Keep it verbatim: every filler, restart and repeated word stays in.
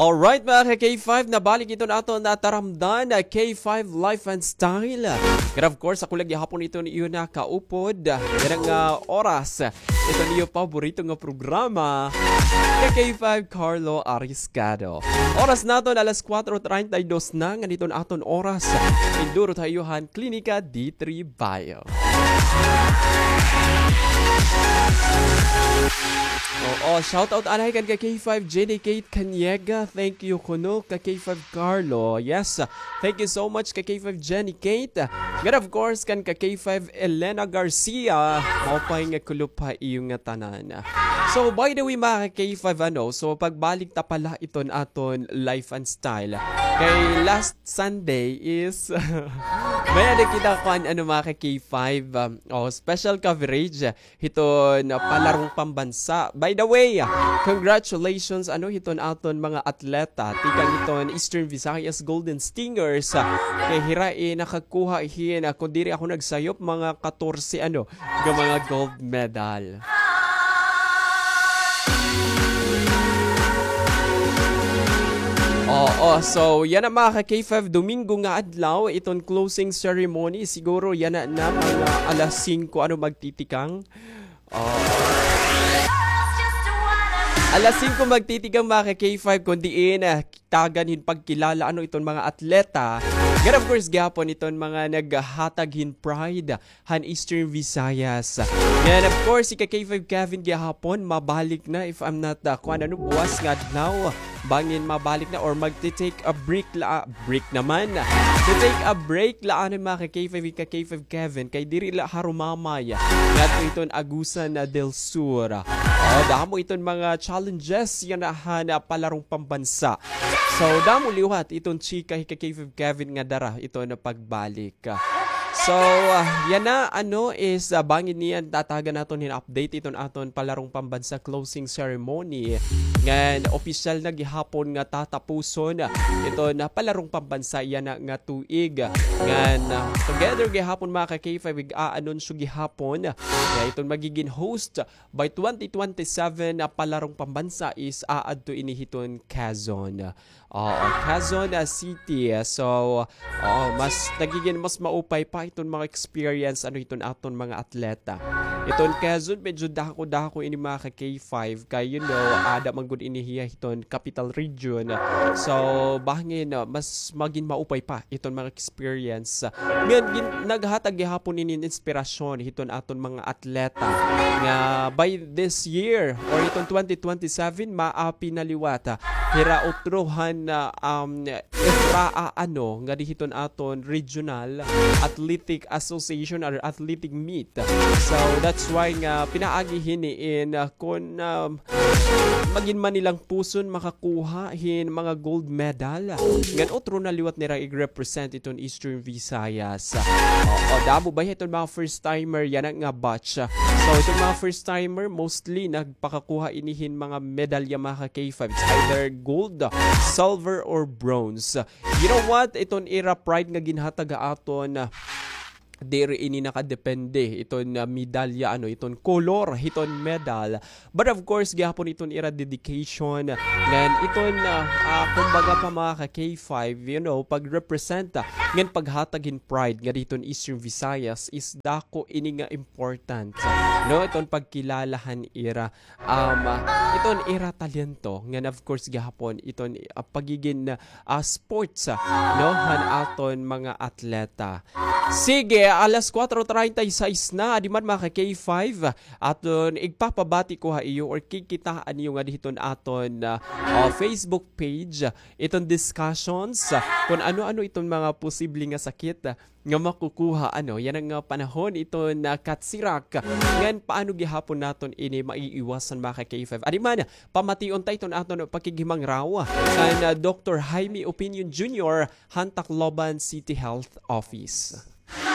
Alright, mga ka-K five, nabalik iton aton nataramdan na K five Life and Style. And of course, ako lagi hapon iton iyo nakaupod. Yana nga oras, iton iyo paborito nga programa, ka-K five Carlo Ariscado. Oras naton alas kuwatro treinta y dos na, ngan iton aton oras. Indurot ha iyo han Klinika D three Bio. Oo, shout out anay kan ka-K five Jenny Kate Caniega. Thank you kuno ka-K five Carlo. Yes, thank you so much ka-K five Jenny Kate. Ngan of course kan ka-K five Elena Garcia. Maupay nga kulop ha iyo ngatanan. So by the way, mga ka-K five, ano, so pagbalik ta pala iton aton Life and Style. Kay last Sunday is may ada kita kuan, ano, mga ka-K five, um, oh, special coverage hiton, uh, palarong pambansa. By the way, uh, congratulations, ano, hiton aton mga atleta tikang hiton Eastern Visayas Golden Stingers, uh, kay hira, eh, nakakuha hin, uh, kun diri ako nagsayop, mga katorse, ano, nga mga gold medal. Oo, so yana, mga ka-K five, Domingo nga adlaw, iton closing ceremony, siguro yana na mga alas singko, ano, magtitikang. Oo. Alas singko magtitikang, mga ka-K five, kun diin, ah, tagan hin pagkilala, ano, iton mga atleta. Ngan of course gihapon iton mga naghatag hin pride han Eastern Visayas. Ngan of course, si ka-K five Kevin gihapon, mabalik na, if I'm not, uh, kuan, ano, buwas nga adlaw. Bangin mabalik na or magti-take a break la, break naman. To take a break la, ano, mga ka-K five, ka-K five Kevin, kay diri la harumamay ngadto iton Agusan del Sur. Oh, damo iton mga challenges yana han, uh, palarong pambansa. So, damo liwat iton chika hi ka-K five Kevin nga dara iton pagbalik. So, ah, yana, ano, is, ah, bangin niyan tatagan naton hin update iton aton palarong pambansa closing ceremony. Ngan opisyal na gihapon nga tatapuson iton palarong pambansa yana nga tuig. Ngan, ah, together gihapon, mga ka-K five, ig-aanunsyo gihapon nga iton magigin host by twenty twenty-seven na palarong pambansa is aadto ini hiton Quezon. Oo, Quezon, ah, City. So, oo, mas nagigin mas maupay pa iton mga experience, ano, iton aton mga atleta. Iton Quezon, medyo dako-dako ini, mga ka-K five. Kay, you know, ada man gud ini hiya hiton capital region. So, bangin, ah, mas magin maupay pa iton mga experience. Ngan gin-, naghatag gihapon ini inspirasyon hiton aton mga atleta nga by this year or hiton twenty twenty-seven, maapi na liwat, ah, hira utro han, ah, um, ifraa, ano, ngadi hiton aton regional athletic association or athletic meet. So, that's why nga pinaagi hini in, ah, kun, um, magin man nilang puson makakuha hin mga gold medal. Ngan utro na liwat nira ig-represent iton Eastern Visayas. Oo, damo ba iton mga first timer yana nga batch? So, iton mga first timer, mostly nagpakakuha ini hin mga medalya, mga ka-K five. It's either gold, silver, or bronze. You know what? Iton ira pride nga ginhatag ha aton, ah, diri ini nakadepende iton, ah, medalya, ano, iton kolor hiton medal. But of course, gihapon iton ira dedication. Ngan iton, ah, ah, kumbaga pa, mga ka-K five, you know, pag-represent, ah, ngan paghatag hin pride ngadi hiton Eastern Visayas is dako ini nga important. No, iton pagkilala han ira um, iton ira talento, ngan of course gihapon iton, ah, pagigin, ah, sports, ah, no, han aton mga atleta. Sige, alas kuwatro treinta y seis na, adi man, mga ka-K five, aton igpapabati ko ha iyo or kikitaa niyo ngadi hiton aton, ah, ah, Facebook page, iton discussions, ah, kun ano-ano iton mga posible nga sakit, ah, nga makukuha, ano, yana nga panahon iton katsirak. Ngan paano gihapon naton ini maiiwasan, mga ka-K five? Adi man, pamation ta iton aton pakighimangraw kan, ah, Doktor Jaime Opinion Junior han Tacloban City Health Office.